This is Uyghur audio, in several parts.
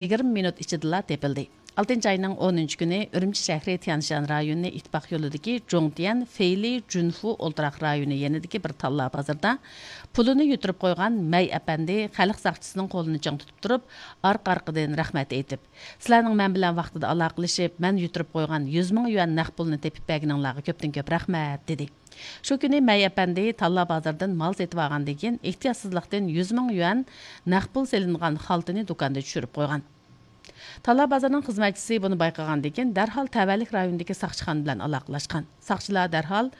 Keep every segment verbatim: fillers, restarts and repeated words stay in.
يىگىرمە مىنۇت ئىچىدىلا تېپىلدى. ئالتىنچى ئاينىڭ ئونىنچى كۈنى ئۈرۈمچى شەھىرى تيەنشان رايونى ئىتتىپاق يولىدىكى جۇڭتيەن فېيلى جۈنفۇ ئولتۇراق رايونى يېنىدىكى بىر تاللا بازىرىدا پۇلىنى يۈتۈرۈپ قويغان مەي ئەپەندى خەلق ساقچىسىنىڭ قولىنى چىڭ تۇتۇپ تۇرۇپ، ئارقا-ئارقىدىن رەھمەت ئېيتىپ، سىلەرنىڭ مەن بىلەن ۋاقتىدا ئالاقىلىشىپ، مەن يۈتۈرۈپ قويغان يۈز مىڭ يۈەن نەق پۇلنى تېپىپ بەرگىنىڭلارغا كۆپتىن كۆپ رەھمەت، دېدى. شۇ كۈنى مەي ئەپەندى تاللا بازىرىدىن مال سېتىۋالغاندىن كېيىن، ئېھتىياتسىزلىقتىن يۈز مىڭ يۈەن نەق پۇل سېلىنغان خالتىنى دۇكاندا چۈشۈرۈپ قويغان. تاللا بازىرىنىڭ خىزمەتچىسى بۇنى بايقىغاندىن كېيىن، دەرھال تەۋەلىك رايونىدىكى ساقچىخانا بىلەن ئالاقىلاشقان. ساقچىلار دەرھال،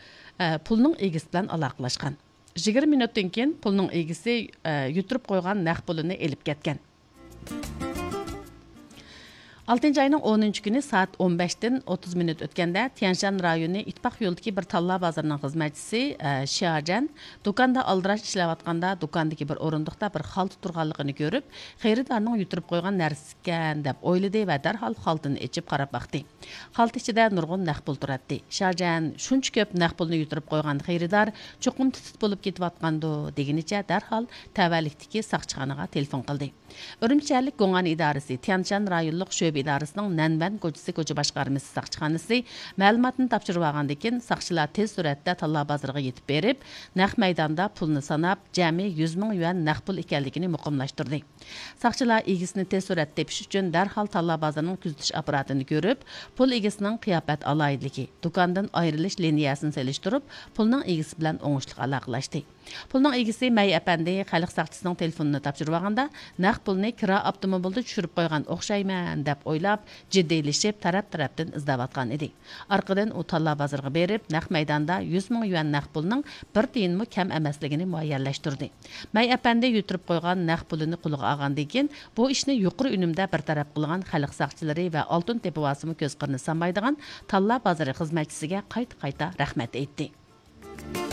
ئە، پۇلنىڭ ئىگىسى بىلەن ئالاقىلاشقان. يىگىرمە مىنۇتتىن كېيىن پۇلنىڭ ئىگىسى، ئە، يۈتۈرۈپ قويغان نەق پۇلىنى ئېلىپ كەتكەن. ئالتىنچى ئاينىڭ ئونىنچى كۈنى سائەت ئون بەشتىن ئوتتۇز مىنۇت ئۆتكەندە، تيەنشان رايونى ئىتتىپاق يولىدىكى بىر تاللا بازىرىنىڭ خىزمەتچىسى، ئە، شياجەن دۇكاندا ئالدىراش ئىشلەۋاتقاندا، دۇكاندىكى بىر ئورۇندۇقتا بىر خالتا تۇرغانلىقىنى كۆرۈپ، خېرىدارنىڭ يۈتۈرۈپ قويغان نەرسىكەن دەپ ئويلىدى ۋە دەرھال خالتىنى ئېچىپ قاراپ باقتى. خالتا ئىچىدە نۇرغۇن نەق پۇل تۇراتتى. شياجەن شۇنچە كۆپ نەق پۇلنى يۈتۈرۈپ قويغان خېرىدار چوقۇم تۈتۈت بولۇپ كېتىۋاتقاندۇ دېگىنىچە دەرھال تەۋەلىكتىكى ساقچىخانىغا تېلېفون قىلدى. ئۈرۈمچى شەھەرلىك گوڭئەن ئىدارىسى، تيەنشان رايونلۇق شۆبە ئىدارىسىنىڭ نەنۋەن كوچىسى كوچا باشقارمىسى ساقچىخانىسى مەلۇماتنى تاپشۇرۇۋالغاندىن كېيىن، ساقچىلار تېز سۈرئەتتە تاللا بازىرىغا يېتىپ بېرىپ، نەق مەيداندا پۇلنى ساناپ، جەمئىي يۈز مىڭ يۈەن نەق پۇل ئىكەنلىكىنى مۇقىملاشتۇردى. ساقچىلار ئىگىسىنى تېز سۈرئەتتە تېپىش ئۈچۈن دەرھال تاللا بازىرىنىڭ كۆزىتىش ئاپپاراتىنى كۆرۈپ، پۇل ئىگىسىنىڭ قىياپەت ئالاھىدىلىكى، دۇكاندىن ئايرىلىش لىنىيەسىنى سېلىشتۇرۇپ، پۇلنىڭ ئىگىسى بىلەن ئوڭۇشلۇق ئالاقىلەشتى. پۇلنىڭ ئىگىسى مەي ئەپەندى خەلق ساقچىسىنىڭ تېلېفونىنى تاپشۇرۇۋالغاندا، نەق پۇلنى كىرا ئاپتوموبىلدا چۈشۈرۈپ قويغان ئوخشايمەن دەپ ئويلاپ، جىددىيلىشىپ، تەرەپ-تەرەپتىن ئىزدەۋاتقان ئىدى. ئارقىدىن ئۇ تاللا بازىرىغا بېرىپ، نەق مەيداندا يۈز مىڭ يۈەن نەق پۇلنىڭ بىر تىيىنمۇ كەم ئەمەسلىكىنى مۇئەييەنلەشتۈردى. مەي ئەپەندى يۈتۈرۈپ قويغان نەق پۇلىنى قولىغا ئالغاندىن كېيىن، بۇ ئىشنى يۇقىرى ئۈنۈمدە بىر تەرەپ قىلغان خەلق ساقچىلىرى ۋە ئالتۇن تېپىۋالسىمۇ كۆز قىرىنى سانمايدىغان تاللا بازىرى خىزمەتچىسىگە قايتا-قايتا رەھمەت ئېيتتى.